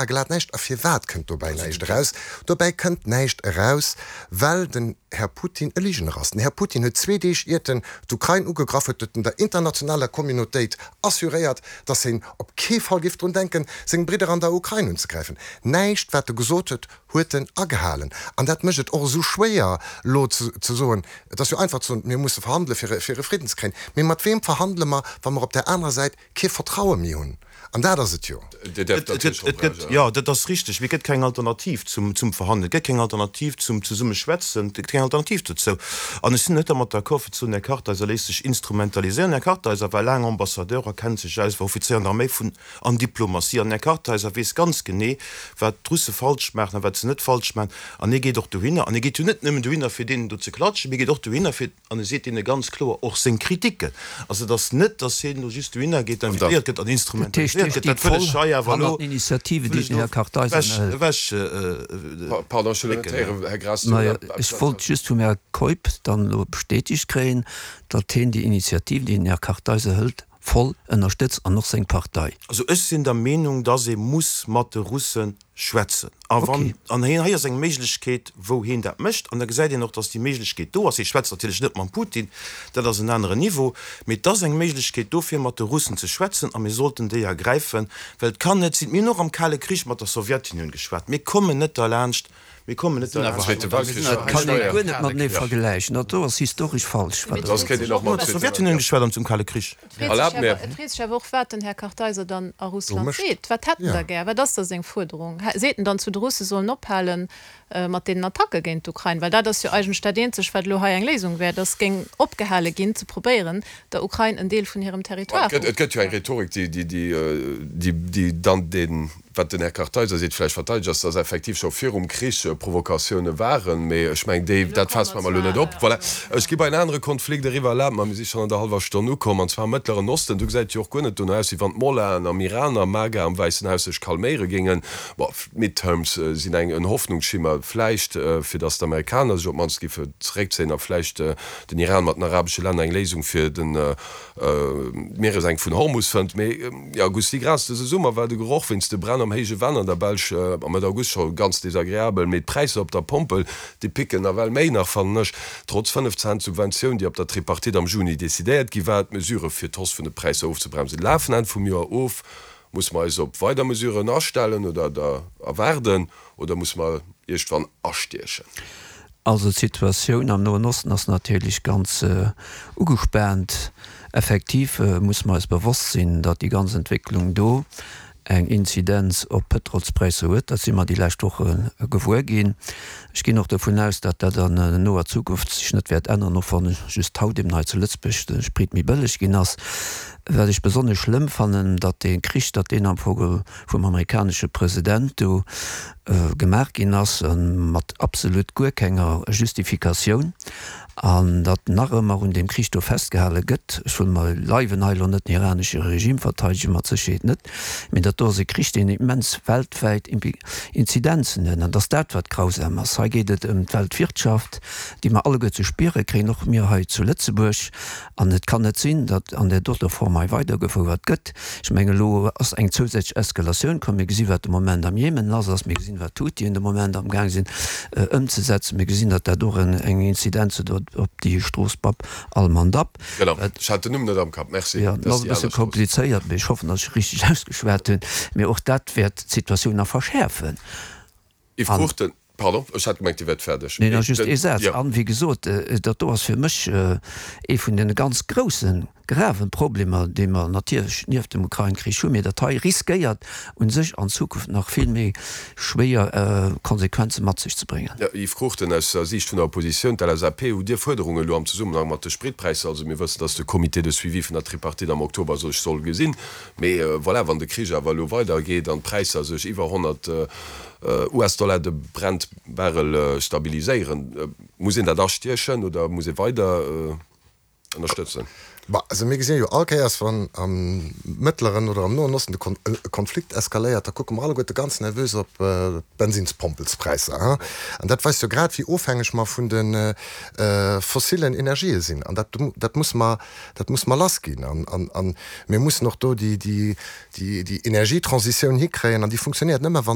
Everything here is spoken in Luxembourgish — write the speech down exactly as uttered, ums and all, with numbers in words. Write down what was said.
Glat näischt. A firwat kënnt dobäi näischt eraus? Dobäi kënnt näischt eraus, well den Här Putin e Ligener ass. Den Här Putin huet zwee Deeg iert en d'Ukrain ugegraff huet, huet en der internationaler Communautéit assuréiert, datt hien op kee Fall géif drun denken, seng Bridder an der Ukrain unzegräifen. Näischt wat e gesot huet, huet en agehalen. An dat mécht et och esou schwéier elo ze soen, et ass jo einfach ze soen, mir musse verhandele fir e Fridden ze kréien, mee mat weem verhandele mer, wa mer op där anerer Säit kee Vertraue méi hunn? An dat ass et jo. Dir däerft natierlech och reagéieren. Jo, dat ass richteg. Mee et gëtt keng Alternativ zum Verhandelen. Et gëtt keng Alternativ zum Zesummeschwätzen. Et gëtt keng Alternativ dozou. An ech sinn net dermat d'accord, fir ze soen, Här Kartheiser léisst sech instrumentaliséieren. Här Kartheiser war laang Ambassadeur a kennt sech aus, war Offizéier an der Arméi vun an Diplomatie. An den Här Kartheiser weess ganz genee, wat d'Russe falsch maachen a wat se net falsch maachen. An hie geet och dohinner. An hie geet jo net nëmmen dohinner, fir deenen do ze klatschen, mee hie geet och dohinner, fir, an e seet deene ganz kloer och seng Kritiken. Also et ass net, datt hien elo just dohinner geet, invitéiert gëtt an instrumentaliséiert gëtt. Dat wëll ech hei awer elo ewech drécken. Ech wollt just vum Här Keup dann elo bestätegt kréien, datt hien déi Initiativ, déi den Här Kartheiser hëlt, voll ënnerstëtzt an och seng Partei. Also ech sinn der Meenung, datt ee muss mat de Russe schwätzen. A wann, an hien, hei ass eng Méiglechkeet, wou hien dat mécht, an da gesäit een och, datt déi Méiglechkeet do ass. Hie schwätzt natierlech net mam Putin, dat ass en aneren Niveau, mee et ass eng Méiglechkeet do, fir mat de Russen ze schwätzen, a mir sollten déi ergräifen, well et kann net sinn, mir hunn och am Kale Krich mat der Sowjetunioun geschwat, mir kommen net derlaanscht, mir kommen net derlaanscht. Dat kann ee guer net matenee vergläichen, dat do ass historesch falsch, wat Der sot. Mir hunn mat der Sowjetunioun geschwat am zum Kale Krich. Et freet sech awer och, wat den Här Kartheiser dann a Russland seet. Wat hätt en da gär? Wat ass da seng Fuerderung? Seet en dann zu de Russe sollen ophale mat deenen Attacke géint d'Ukrain? Well dat ass jo eigentlech dat eenzegt, wat elo hei eng Léisung wär, datt géing opgehale ginn ze probéieren, der Ukrain en Deel vun hirem Territoire. Et gëtt jo eng Rhetorik, déi dann deen, wat den Här Kartheiser seet, vläicht verteidegt, ass, datt effektiv scho virum Krich Provokatioune waren. Mee ech mengen, déi, dat faasst mer elo net op. Voilà. Ech gi bei en anere Konflikt eriwwer. Erlaabt mer, mir si schonn an der hallwer Stonn ukomm, an zwar am Mëttleren Osten. Do gesäit et jo och guer net dono aus, wéi wann d'Mollahen am Iran a MAGA am Wäissen Haus sech calméiere géingen. Bon, d'Midterms sinn eng en Hoffnungsschimmer vläicht, fir datt d'Amerikaner sech op d'mannst géife zeréckzéien a vläicht den Iran mat den arabesche Länner eng Léisung fir den d'Mieresenk vun Hormus fënnt. Mee jo, Gusty Graas, dëse Summer war de Geroch wéinst de Bränn am héije Venn an der Belsch am Mëtt August scho ganz desagreabel. Mee d'Präisser op der Pompel, déi picken nawell méi nach, fannen ech. Trotz fënnef Cent Subventioun, déi op der Tripartite am Juni decidéiert gi war. D'Mesurë fir d'Hausse vun de Präisser ofzebremsen, lafen Enn vum Joer of. Musse mer eis op weider Mesuren astellen oder der erwaarden oder musse mer iergdwann astiechen? Also d'Situatioun am Noen Osten ass natierlech ganz ugespaant. Effektiv musse mer eis bewosst sinn, datt déi ganz Entwécklung do eng Inzidenz op d'Pëtrolspräisser huet. Dat si mer déi lescht Woche gewuer ginn. Ech ginn och dovun aus, datt dat an noer Zukunft sech net wäert änneren, och wann just haut eben hei zu Lëtzebuerg de Sprit méi bëlleg ginn ass. Wat ech besonnesch schlëmm fannen, datt dee Krich, datt deen am Fong vum amerikanesche President do gemaach ginn ass, mat absolut guer kenger Justifikatioun, an datt nach ëmmer un deem Krich do festgehale gëtt. Ech wëll bei Leiwen hei elo net den iranesche Regime verteidegen, mat Sécherheet net, mee dat do ass e Krich, deen immens weltwäit Inzidenzen huet, an et ass dat, wat grausam ass. Hei geet et ëm d'Weltwirtschaft, déi mer alleguer ze spiere kréien, och mir hei zu Lëtzebuerg. An et kann net sinn, datt an där doter Form hei weidergefouert gëtt. Ech mengen, elo ass eng zousätzlech Eskalatioun komm. Mir gesi wat de Moment am Jemen lass ass. Mir gesinn, wat d'Huthien de Moment amgaang sinn ëmzesetzen. Mir gesinn, datt dat och eng Inzidenz huet op déi Strooss Bab al-Mandab. Genau, ech hat den Numm net am Kapp. Merci. Jo, dat ass e bësse komplizéiert, mee ech hoffen, datt ech richteg ausgeschwat hunn. Mee och dat wäert d'Situatioun nach verschäerfen. Yves Cruchten, Pardon, ech hat gemengt, Dir wäert fäerdeg. Neen, just ee Saz. An, wéi gesot, dat do ass fir mech ee vun deene ganz groussen, graven Problemer, déi mer natierlech nieft dem Ukrain-Krich hunn, mee dat hei riskéiert u sech an Zukunft nach vill méi schwéier Konsequenze mat sech ze bréngen. Jo, Yves Cruchten, aus der Siicht vun der Oppositioun, d'LSAP, hutt Dir Fuerderungen elo am Zesummenhang mat de Spritpräisser? Also mir wëssen, datt de Comité de suivi vun der Tripartite am Oktober sech soll gesinn. Mee voilà, wann de Krich awer elo weidergeet an d'Präisser sech iwwer honnert US-Dollar de Brent-Barrel stabiliséieren, muss een dat astiechen oder muss ee weider ënnerstëtzen? Bah, also mir gesinn jo all Kéiers, wann am Mëttleren oder am Noen Osten de Kon e Konflikt eskaléiert, da kucke mer alleguerte ganz nervös op d'Bensinspompelspräisser. Hein? An dat weist jo grad, wéi ofhängeg mer vun de fossilen Energië sinn. An dat, dat musse mer, dat musse mer lassginn. An, an, an mir mussen och do déi, déi, déi, déi Energietransitioun hikréien. An déi funktionéiert nëmme, wann